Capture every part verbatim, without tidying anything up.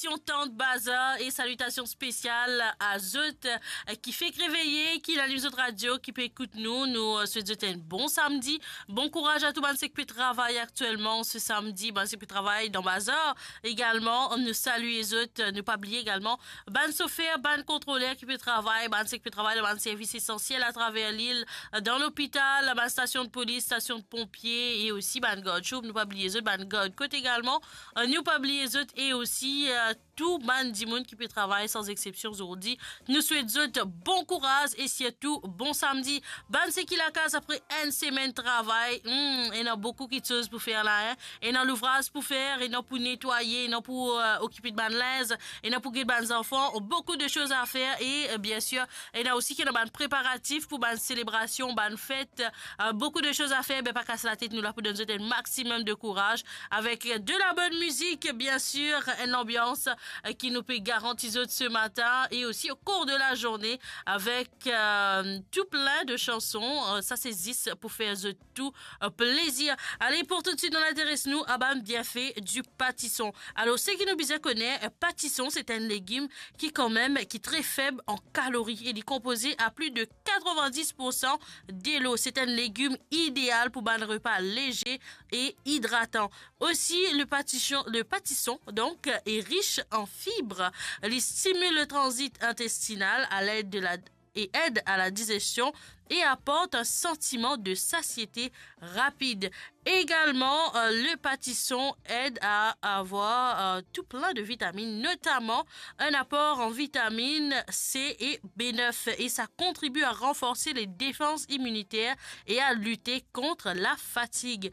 Salitasion Tant Bazar e salitasion spesial a zot, eh, ki fek reveye, ki lalim zot radio, ki pe ekout nou. Nou, eh, swet zot enn bon samdi. Bon kouraz a tou bann sek pe travay aktielman se samdi, bann sek pe travay dan bazar egalman. Nou salye zot, nou pa bliye egalman bann sofer, bann kontroler ki pe travay, bann sek pe travay dan bann servis esansiel atraver lil, dan lopital, bann stasion de polis, stasion de ponpie e osi bann gard shop. Nou pa bliye zot, bann gard kot egalman. Eh, nou pa bliye zot e osi, eh, tou bann dimoun ki pe travay san exsepsion zordi. Nou swet zot bon kouraz e sirtou bon samdi. Bann seki lakaz apre enn semenn travay, hmm, ena boukou kiksoz pou fer la, hein. Ena louvraz pou fer, ena pou netwaye, ena pou, eh, okipe bann linz, ena pou get bann zanfan, boukou de soz a fer e, eh, biensir, ena osi ki ena bann preparatif pou bann selebrasion, bann fet, eh, boukou de soz a fer. Be pa kas latet, nou la pou donn zot enn maximum de kouraz avek de la bonn mizik, biensir, enn lanbians, eh, ki nou pe garanti zot se matin e osi o kour de la zourne avek, eh, tou plin de sanson. Eh, sa se zis pou fer zot tou, eh, plezir. Ale, pou toutswit, nou interes nou a bann bienfe di patison. Alor, seki nou bizin kone, eh, patison, se enn legim ki kanmem, ki tre feb an kalori e li konpoze a plis de katrevin-dis pour san delo. Se enn legim ideal pou bann repa leze e idratan. Osi, le patison, le patison, donk, est riche en fibres. Il stimule le transit intestinal à l'aide de la, et aide à la digestion et apporte un sentiment de satiété rapide. Également, euh, le patison aide à avoir, euh, tout plein de vitamines, notamment un apport en vitamines C et B neuf, et ça contribue à renforcer les défenses immunitaires et à lutter contre la fatigue.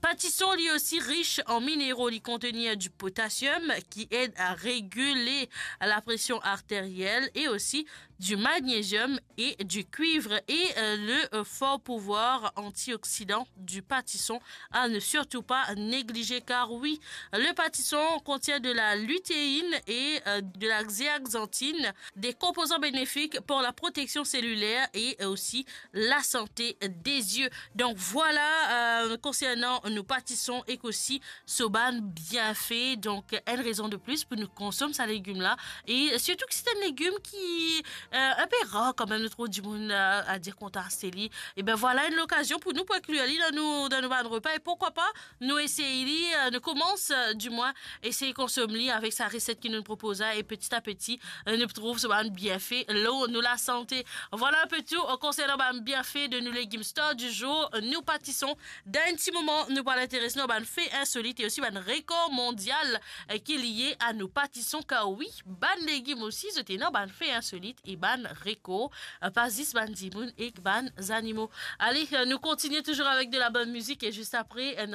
Patison, li osi, riche en minéraux, li kontenir du potassium qui aide à réguler la pression artérielle et aussi du magnésium et du cuivre et, euh, le, euh, fort pouvoir antioxydant du patison à ne surtout pas négliger, car oui, le patison contient de la lutéine et, euh, de la zéaxanthine, des composants bénéfiques pour la protection cellulaire et aussi la santé des yeux. Donk vwala, euh, konsernan nou patison ek osi so bann bienfe. Donk enn rezon de plis pou nou konsom sa legim la. E sirtou ki se enn legim ki, euh, inpe rar kanmem, nou trouv dimoun, euh, a dir kontan aste li. E ben vwala enn lokazion pou nou pou inklir li dan nou, dan nou bann repa. E pourkwa pa nou esey li, euh, nou koumans, euh, dimwin, esey konsom li avek sa reset ki nou propoz la, e peti a peti, euh, nou trouv so bann bienfe lor nou lasante. Vwala inpe tou, euh, konsernan bann bienfe de nou legim star du jour, euh, nou patison. Dan enn ti moman, nou pou al interes nou a bann fe insolit e osi bann rekor mondial, euh, ki liye a nou patison. Kar wi, bann legim osi, zot ena bann fe insolit e bann rekor, euh, pa zis bann dimoun ek bann zanimo. Ale, euh, nou kontinie touzour avek de la bonn mizik e zis apre, euh,